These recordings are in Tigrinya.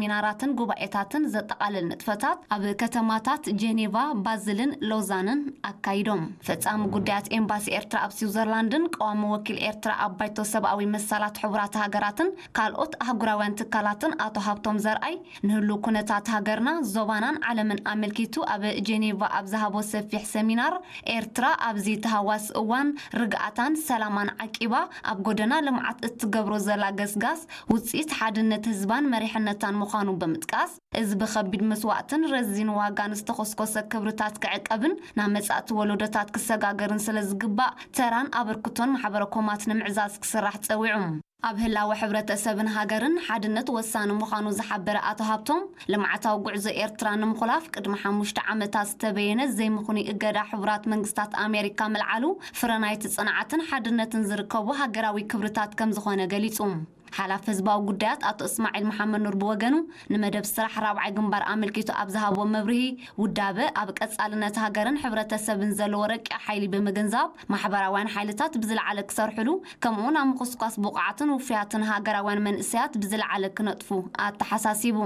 ሚናራትን ጉባኤታትን ዘጠቓልል ንጥፈታት ኣብ ከተማታት ጄኔቫ፣ ባዝልን ሎዛንን ኣካይዶም። ፈጻሚ ጉዳያት ኤምባሲ ኤርትራ ኣብ ስዊዘርላንድን ቀዋሚ ወኪል ኤርትራ ኣብ ባይቶ ሰብኣዊ መሰላት ሕቡራት ሃገራትን ካልኦት ኣህጉራውያን ትካላትን ኣቶ ሃብቶም ዘርኣይ ንህሉ ኩነታት ሃገርና፣ ዞባናን ዓለምን ኣመልኪቱ ኣብ ጄኔቫ ኣብ ዝሃቦ ሰፊሕ ሰሚናር፣ ኤርትራ ኣብዚ ተሃዋሲ እዋን ርግኣታን ሰላማን ዓቂባ ኣብ ጎደና ልምዓት እትገብሮ ዘላ ገስጋስ ውጽኢት ሓድነት ህዝባን መሪሕነታን ምዃኑ ብምጥቃስ፣ እዚ ብኸቢድ መስዋእትን ረዚን ዋጋን ዝተኾስኮሰ ክብርታት ክዕቀብን ናብ መጻእቲ ወለዶታት ክሰጋገርን ስለ ዝግባእ፣ ተራን ኣበርክቶን ማሕበረ ኮማት ንምዕዛዝ ክስራሕ ጸዊዑ። ኣብ ህላወ ሕብረተሰብን ሃገርን ሓድነት ወሳኒ ምዃኑ ዝሓበረ ኣቶ ሃብቶም፣ ልምዓታዊ ጉዕዞ ኤርትራ ንምኹላፍ ቅድሚ ሓሙሽተ ዓመታት ዝተበየነ ዘይምኽኑይ እገዳ ሕቡራት መንግስታት ኣሜሪካ ምልዓሉ፣ ፍረ ናይቲ ጽንዓትን ሓድነትን ዝርከቡ ሃገራዊ ክብርታት ከም ዝኾነ ገሊጹ። ሓላፊ ህዝባዊ ጉዳያት ኣቶ እስማዒል መሓመድ ኑር ብወገኑ፣ ንመደብ ስራሕ ራብዓይ ግንባር ኣመልኪቱ ኣብ ዝሃቦ መብርሂ፣ ውዳበ ኣብ ቀጻልነት ሃገርን ሕብረተሰብን ዘለዎ ረቂቕ ሓይሊ ብምግንዛብ፣ ማሕበራውያን ሓይልታት ብዝለዓለ ክሰርሕሉ፣ ከምኡውን ኣብ ምኹስኳስ ብቑዓትን ውፉያትን ሃገራውያን መንእሰያት ብዝለዓለ ክነጥፉ ኣተሓሳሲቡ።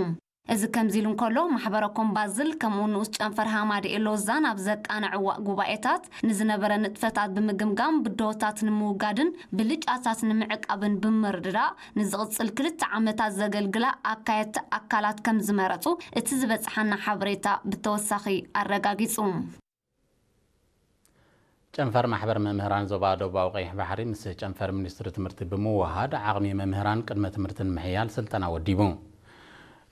እዚ ከምዚ ኢሉ እንከሎ፣ ማሕበረ ኮም ባዝል ከምኡ ንኡስ ጨንፈር ሃማደኤ ሎዛን ኣብ ዘቃንዕዋ ጉባኤታት ንዝነበረ ንጥፈታት ብምግምጋም፣ ብድሆታት ንምውጋድን ብልጫታት ንምዕቃብን ብምርድዳእ፣ ንዝቕጽል ክልተ ዓመታት ዘገልግላ ኣካየድቲ ኣካላት ከም ዝመረጹ እቲ ዝበጽሓና ሓበሬታ ብተወሳኺ ኣረጋጊጹ። ጨንፈር ማሕበር መምህራን ዞባ ደቡባዊ ቀይሕ ባሕሪ ምስ ጨንፈር ሚኒስትሪ ትምህርቲ ብምውሃድ ዓቕሚ መምህራን ቅድመ ትምህርቲ ንምሕያል ስልጠና ወዲቡ።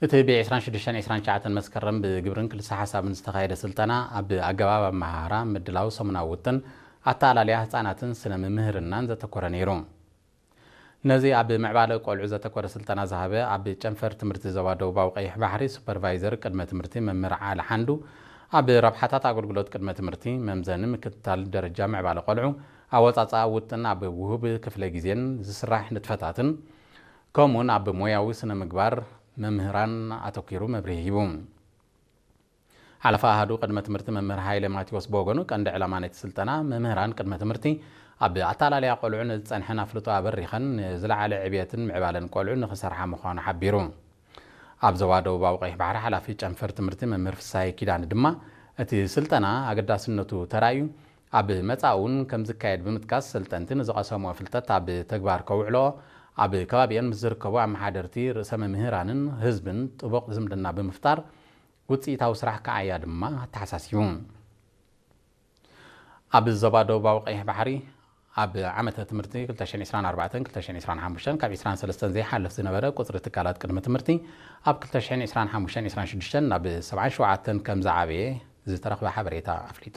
እቲ ብ ዕስራን ሽዱሽተን ዕስራን ትሽዓተን መስከረም ብግብርን ክልሰ ሓሳብን ዝተኻየደ ስልጠና ኣብ ኣገባብ ኣመሃህራ፣ ምድላው ሰሙናዊ ውጥን፣ ኣተኣላልያ ህጻናትን ስነ ምምህርናን ዘተኮረ ነይሩ። ነዚ ኣብ ምዕባለ ቆልዑ ዘተኮረ ስልጠና ዝሃበ ኣብ ጨንፈር ትምህርቲ ዞባ ደቡባዊ ቀይሕ ባሕሪ ሱፐርቫይዘር ቅድመ ትምህርቲ መምህር ዓሊ ሓንዱ፣ ኣብ ረብሓታት ኣገልግሎት ቅድመ ትምህርቲ፣ መምዘኒ ምክትታል ደረጃ ምዕባለ ቆልዑ፣ ኣወጻጽኣ ውጥን ኣብ ውሁብ ክፍለ ግዜን ዝስራሕ ንጥፈታትን፣ ከምኡውን ኣብ ሞያዊ ስነ ምግባር መምህራን ኣተኲሩ መብርሂ ሂቡ። ሓለፋ ኣሃዱ ቅድመ ትምህርቲ መምህር ሃይለ ማቴዎስ ብወገኑ፣ ቀንዲ ዕላማ ናይቲ ስልጠና፣ መምህራን ቅድመ ትምህርቲ ኣብ ኣተኣላልያ ቆልዑ ንዝጸንሐን ኣፍልጦ ኣበሪኸን ንዝለዓለ ዕብየትን ምዕባለን ቆልዑ ንኽሰርሓ ምዃኑ ሓቢሩ። ኣብ ዞባ ደቡባዊ ቀይሕ ባሕሪ ሓላፊ ጨንፈር ትምህርቲ መምህር ፍሳሄ ኪዳነ ድማ፣ እቲ ስልጠና ኣገዳስነቱ ተራእዩ ኣብ መጻኢ እውን ከም ዝካየድ ብምጥቃስ፣ ሰልጠንቲ ንዝቐሰምዎ ፍልጠት ኣብ ተግባር ከውዕልኦ፣ ኣብ ከባቢአን ምስ ዝርከቡ ኣመሓደርቲ፣ ርእሰ መምህራንን ህዝብን ጥቡቕ ዝምድና ብምፍጣር፣ ውጽኢታዊ ስራሕ ክዓያ ድማ ኣተሓሳሲቡ። ኣብ ዞባ ደቡባዊ ቀይሕ ባሕሪ፣ ኣብ ዓመተ ትምህርቲ ክልተ ሽሕን ዕስራን ኣርባዕተን ክልተ ሽሕን ዕስራን ሓሙሽተን ካብ ዕስራን ሰለስተን ዘይሓልፍ ዝነበረ ቁጽሪ ትካላት ቅድመ ትምህርቲ፣ ኣብ ክልተ ሽሕን ዕስራን ሓሙሽተን ዕስራን ሽዱሽተን ናብ ሰብዓን ሸውዓተን ከም ዝዓበየ ዝተረኽበ ሓበሬታ ኣፍሊጡ።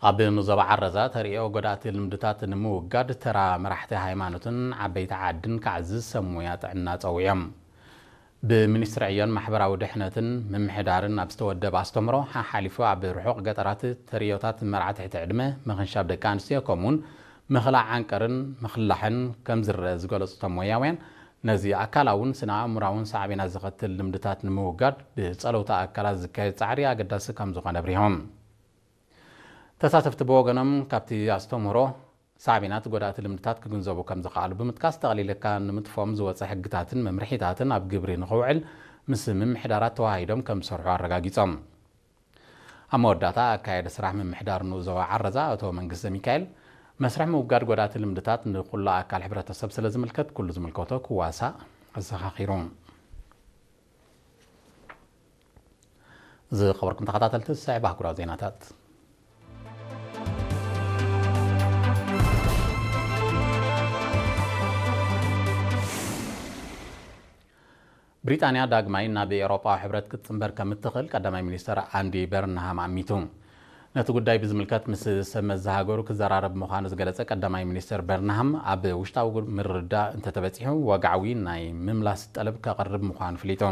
ኣብ ዞባ ዓረዛ ተርእዮ ጎዳእቲ ልምድታት ንምውጋድ ተራ መራሕቲ ሃይማኖትን ዓበይቲ ዓድን ክዓዝዝ ሰብ ሞያ ጥዕና ጸዊዖም። ብሚኒስትሪ ዕዮን ማሕበራዊ ድሕነትን ምምሕዳርን ኣብ ዝተወደበ ኣስተምህሮ፣ ሓሓሊፉ ኣብ ርሑቕ ገጠራት ተርእዮታት መርዓ ትሕቲ ዕድመ፣ ምኽንሻብ ደቂ ኣንስትዮ፣ ከምኡውን ምኽላዕ ዓንቀርን ምኽላሕን ከም ዝረአ ዝገለጹ እቶም ሞያውያን፣ ነዚ ኣካላውን ስነ ኣእምራውን ሳዕቤናት ዘኸትል ልምድታት ንምውጋድ ብጸለውቲ ኣካላት ዝካየድ ጻዕሪ ኣገዳሲ ከም ዝኾነ ኣብሪሆም። ተሳተፍቲ ብወገኖም፣ ካብቲ ኣስተምህሮ ሳዕቤናት ጎዳእቲ ልምድታት ክግንዘቡ ከም ዝኸኣሉ ብምጥቃስ፣ ጠቕሊልካ ንምጥፎም ዝወጸ ሕግታትን መምርሒታትን ኣብ ግብሪ ንኽውዕል ምስ ምምሕዳራት ተዋሂዶም ከም ዝሰርሑ ኣረጋጊጾም። ኣብ መወዳእታ፣ ኣካያዲ ስራሕ ምምሕዳር ንኡስ ዞባ ዓረዛ ኣቶ መንግስተ ሚካኤል፣ መስርሕ ምውጋድ ጎዳእቲ ልምድታት ንኹሉ ኣካል ሕብረተሰብ ስለ ዝምልከት፣ ኩሉ ዝምልከቶ ክዋሳእ ኣዘኻኺሩ። ዝኸበርኩም ተኸታተልቲ፣ ዝስዕብ ኣህጉራዊ ዜናታት። ብሪጣንያ ዳግማይ ናብ ኤውሮጳዊ ሕብረት ክትጽንበር ከም እትኽእል ቀዳማይ ሚኒስተር ኣንዲ በርንሃም ኣሚቱ። ነቲ ጉዳይ ብዝምልከት ምስ ሰብ መዚ ሃገሩ ክዘራረብ ምዃኑ ዝገለጸ ቀዳማይ ሚኒስተር በርንሃም፣ ኣብ ውሽጣዊ ምርድዳእ እንተተበጺሑ፣ ወግዓዊ ናይ ምምላስ ጠለብ ከቕርብ ምዃኑ ኣፍሊጡ።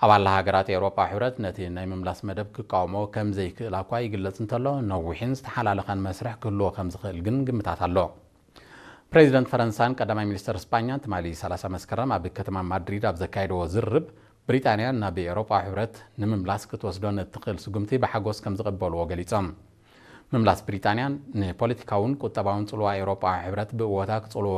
ኣባል ሃገራት ኤውሮጳዊ ሕብረት ነቲ ናይ ምምላስ መደብ ክቃወሞ ከም ዘይክእላ እኳ ይግለጽ እንተሎ፣ ነዊሕን ዝተሓላለኸን መስርሕ ክህልዎ ከም ዝኽእል ግን ግምታት ኣሎ። ፕሬዚደንት ፈረንሳን ቀዳማይ ሚኒስተር ስጳኛን ትማሊ ሰላሳ መስከረም ኣብ ከተማ ማድሪድ ኣብ ዘካየድዎ ዝርርብ፣ ብሪጣንያ ናብ ኤውሮጳዊ ሕብረት ንምምላስ ክትወስዶ ንእትኽእል ስጉምቲ ብሓጎስ ከም ዝቕበልዎ ገሊጾም። ምምላስ ብሪጣንያን ንፖለቲካውን ቁጠባውን ጽልዋ ኤውሮጳዊ ሕብረት ብእወታ ክጽልዎ